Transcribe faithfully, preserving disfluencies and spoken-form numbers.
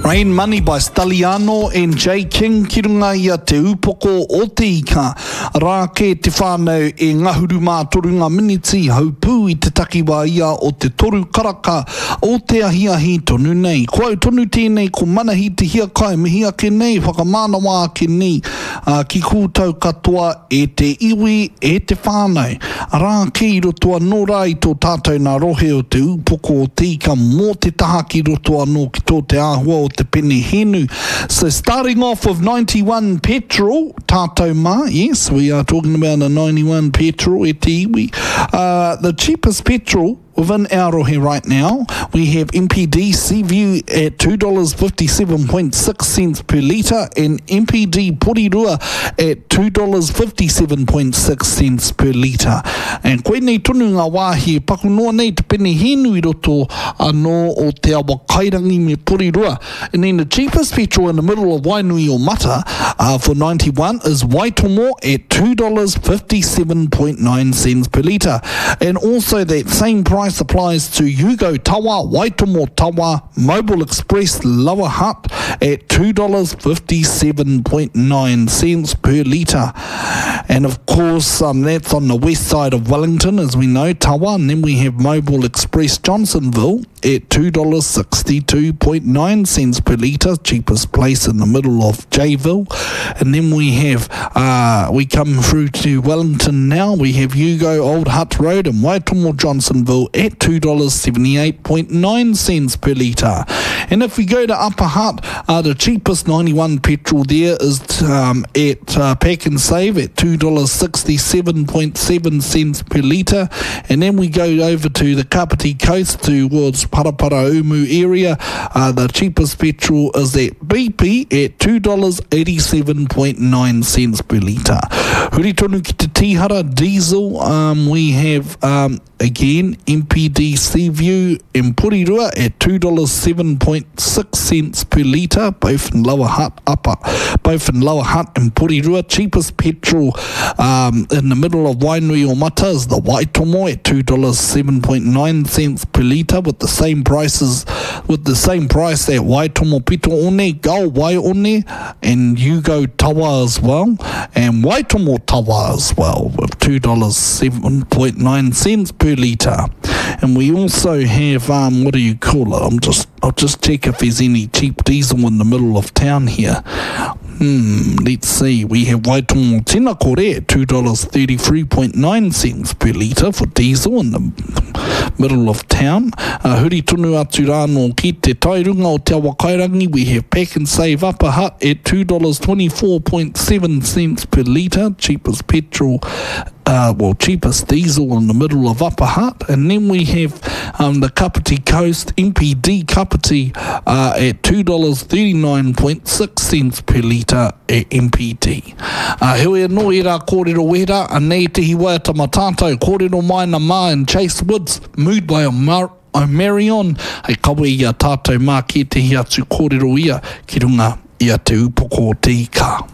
Rain Money by Stalliano and J King ki runga i a Te Upoko o Te Ika. Rā kē te whānau e ngahuru mā toru ngā miniti haupū i te takiwā ia o te toru karaka o te ahiahi tonu nei. Ko au tonu tēnei ko Manahi Te Hiakai mihi ake nei, whakamānawa ake nei uh, ki koutou katoa e te iwi, e te whānau. Arā kē i roto anō rā i tō tātou nā rohe o Te Upoko o Te Ika mō te taha ki roto anō ki tō te āhua o te pene hēnu. So starting off with ninety-one petrol, tātou mā, yes, we are talking about a ninety-one petrol e te iwi. Uh, the cheapest petrol within our rohe right now, we have M P D Seaview at two dollars fifty-seven point six cents per litre and M P D Porirua at two dollars fifty-seven point six cents per litre. And koinei tonu ngā wāhi e paku noa nei te pene hēnu i roto anō o Te Awa Kairangi me Porirua. And then the cheapest petrol in the middle of Wainui o Mata uh, for ninety-one is Waitomo at two dollars fifty-seven point nine cents per litre. And also that same price applies to Hugo Tawa, Waitomo Tawa, Mobile Express Lower Hutt at two dollars fifty-seven point nine cents per litre. And of course, um, that's on the west side of Wellington, as we know, Tawa. And then we have Mobile Express Johnsonville at two dollars sixty-two point nine cents per litre, cheapest place in the middle of Jayville. And then we have, uh, we come through to Wellington now. We have Hugo Old Hutt Road and Waitomo Johnsonville at two dollars seventy-eight point nine cents per litre. And if we go to Upper Hutt, uh, the cheapest ninety-one petrol there is um, at uh, Pack and Save at two dollars sixty-seven point seven cents per litre. And then we go over to the Kapiti Coast towards Paraparaumu area. Uh, the cheapest petrol is at B P at two dollars eighty-seven point nine cents per litre. Huri tonu ki te Tīhara diesel, um, we have um, again M P D Seaview in Porirua at two dollars seven point six cents per litre, both in Lower Hutt, Upper, both in Lower Hutt and Porirua. Cheapest petrol um, in the middle of Wainui o Mata is the Waitomo at two dollars seven point nine cents per litre, with the same prices, with the same price at Waitomo Pito-one, Gull Waione, and Hugo Tawa as well, and Waitomo Tawa as well, with two dollars seven point nine cents per litre. And we also have, um, what do you call it? I'm just, I'll just check if there's any cheap diesel in the middle of town here. Hmm, let's see. We have Waitomo Tinakore at two dollars thirty-three point nine cents per litre for diesel in the middle of town. Uh, huri tonu atu rānō ki te tairunga o Te Awakairangi, we have Pack and Save Upper Hutt at two dollars twenty-four point seven cents per litre, cheapest petrol uh, well, cheapest diesel in the middle of Upper Hutt. And then we have um, the Kapiti Coast M P D Kapiti uh, at two dollars thirty-nine point six cents per litre at M P D. Uh, heoi anō i rā kōrero wera, anei te hiwaiata ma tātou, kōrero maina mā and Chase Woods, Mood by Omar Omarion, hei kawe i a tātou mā ki te hi atu kōrero ia ki runga i a Te Upoko o Te Ika.